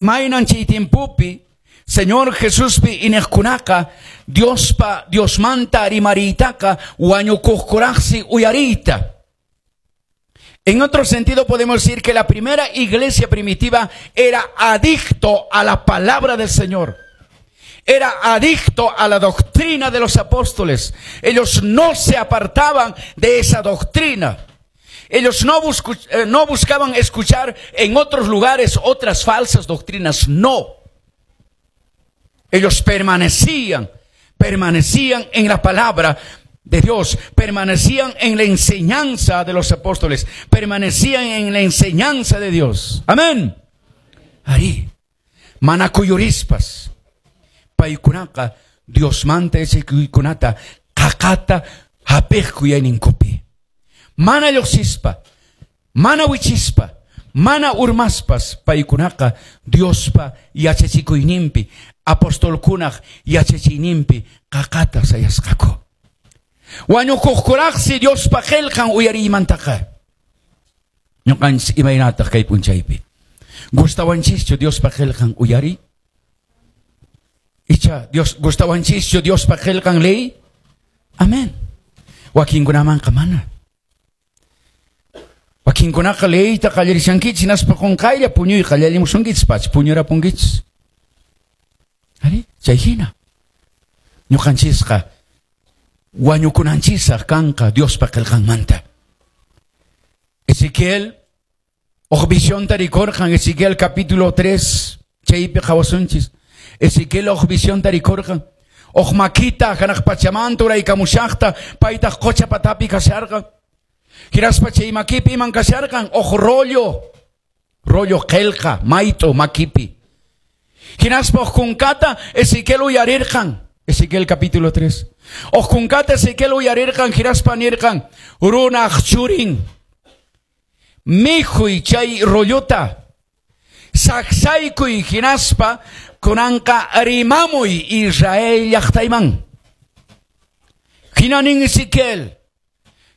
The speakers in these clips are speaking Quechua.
Maynan chay tiempopi Señor Jesuspi iñiqkunaqa Diospa Diosmanta rimariytaqa wañukuqkuraqsi uyariyta. En otro sentido podemos decir que la primera iglesia primitiva era adicto a la palabra del Señor. Era adicto a la doctrina de los apóstoles. Ellos no se apartaban de esa doctrina. Ellos no buscaban escuchar en otros lugares otras falsas doctrinas. No. Ellos permanecían en la palabra de Dios, permanecían en la enseñanza de los apóstoles, permanecían en la enseñanza de Dios. Amén. Arí, mana kuyurispas, paykunaqa Diosmanta yachachikuykunata qaqata hap'iqku yuyayninkupi. Mana lluqsispa, mana wichispa, mana urmaspas paykunaqa Diospa yachachikuyninpi, apostolkunaq yachachiyninpi qaqata sayasqaku. Wañukuqkuraqsi Diospa qillqan uyariymantaqa. Ñuqanchis imaynataq kay p'unchaypi? Gustawanchischu Diospa qillqan uyariy? Icha Dios gustawanchischu Diospa qillqan leey? Amén. Wakinkunamanqa mana. Wakinkunaqa leeyta qallarishankichis hinaspa qunqaylla puñuy qallarimusunkichis pacha puñurapunkichis. Arí, chay hina. Ñuqanchisqa wañukunanchisaq kanqa Diospa qillqanmanta. Ezequiel huk visionta rikurqan, Ezequiel capítulo 3, chaypi qhawasunchis. Ezequiel huk visionta rikurqan. Huk makita hanaq pachamanta uraykamushaqta paytaq qocha patapi kasharqan. Hinaspa chay makipi iman kasharqan huk rollo, rollo qillqa mayt'u makipi. Hinaspa huk kunkata Ezequiel uyarirqan. Ezequiel capítulo 3. Huk kunkata Ezequiel uyarirqan hinaspa nirqan runaq churin mikhuy chay rollota saksaykuy hinaspa kunanqa rimamuy Israel llaqtayman. Hina nin Ezequiel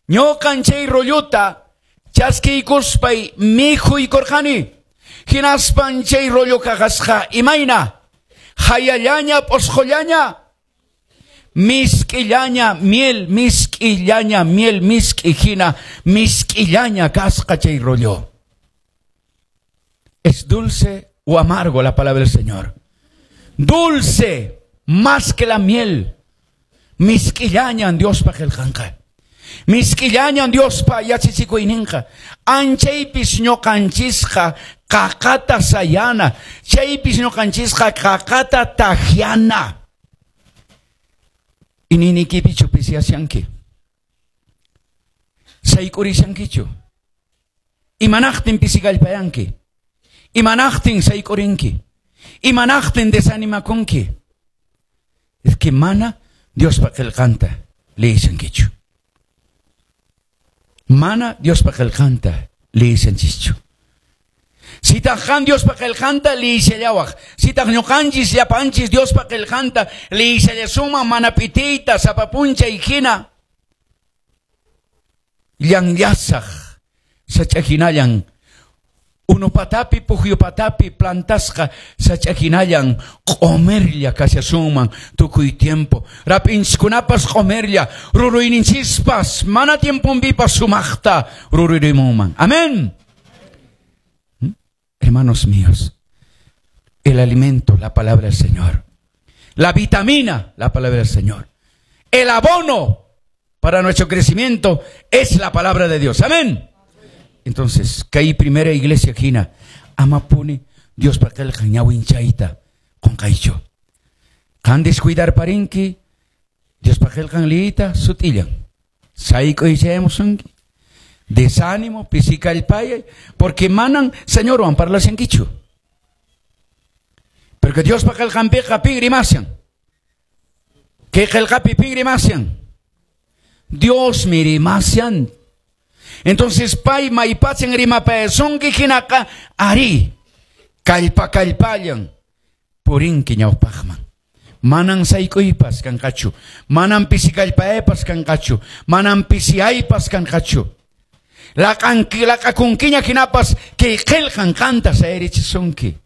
ñuqan chay rollota chaskiykuspay mikhuykurqani. Hinaspan chay rollo kasqa imayna hayallaña p'usqullaña misk'illaña miel misk'illaña miel misk'i hina misk'illaña kasqa chay rollo. Es dulce o amargo la palabra del Señor. Dulce más que la miel. Misk'illañan Diospa qillqanqa. Misk'illañan Diospa yachachikuyninqa. Anchaypis ñuqanchisqa qaqata sayana. Chaypis ñuqanchisqa qaqata takyana. Iñiynikipichu pisiyashanki. Sayk'urishankichu. Imanaqtin pisikallpayanki. Imanaqtin sayk'urinki. Imanaqtin desanimakunki. Es que mana Diospa qillqanta liyishankichu. Mana Diospa qillqanta liyishanchischu. Sitaq qan Diospa qillqanta liyishallawaq. Sitaq ñuqanchis llapanchis Diospa qillqanta liyishallasunman mana p'itiyta sapa p'unchay hina. Llanllasaq sach'a hinallan unu patapi pukyu patapi plantasqa sach'a hinallan q'umirlla kashasunman tukuy tiempo. Rap'inchiskunapas q'umirlla, ruruyninchispas mana tiemponpipas sumaqta rururimunman. Amén. Hermanos míos, el alimento, la palabra del Señor. La vitamina, la palabra del Señor. El abono para nuestro crecimiento es la palabra de Dios. Amén. Entonces, kay primera iglesia hina, amapuni Diospa qillqan ñawinchayta qunqaychu. Qan descuidarparinki, Diospa qillqan liyita sut'illan. Sayk'uychayamusunki. Desánimo, pisikallpayay, porque manan Señorwan parlashankichu. Porque Diospa qillqanpiqa pin rimashan. Kay qillqapi pin rimashan. Diosmi rimashan. Entonces pay maypachan rimapayasunki hinaqa ari kallpa kallpallan purinki ñawpaqman. Manan sayk'uypas kanqachu, manan pisikallpaypas kanqachu, manan pisiyaypas kanqachu. Laq'akunkiña hinapas kay qillqan qanta sayarichisunki.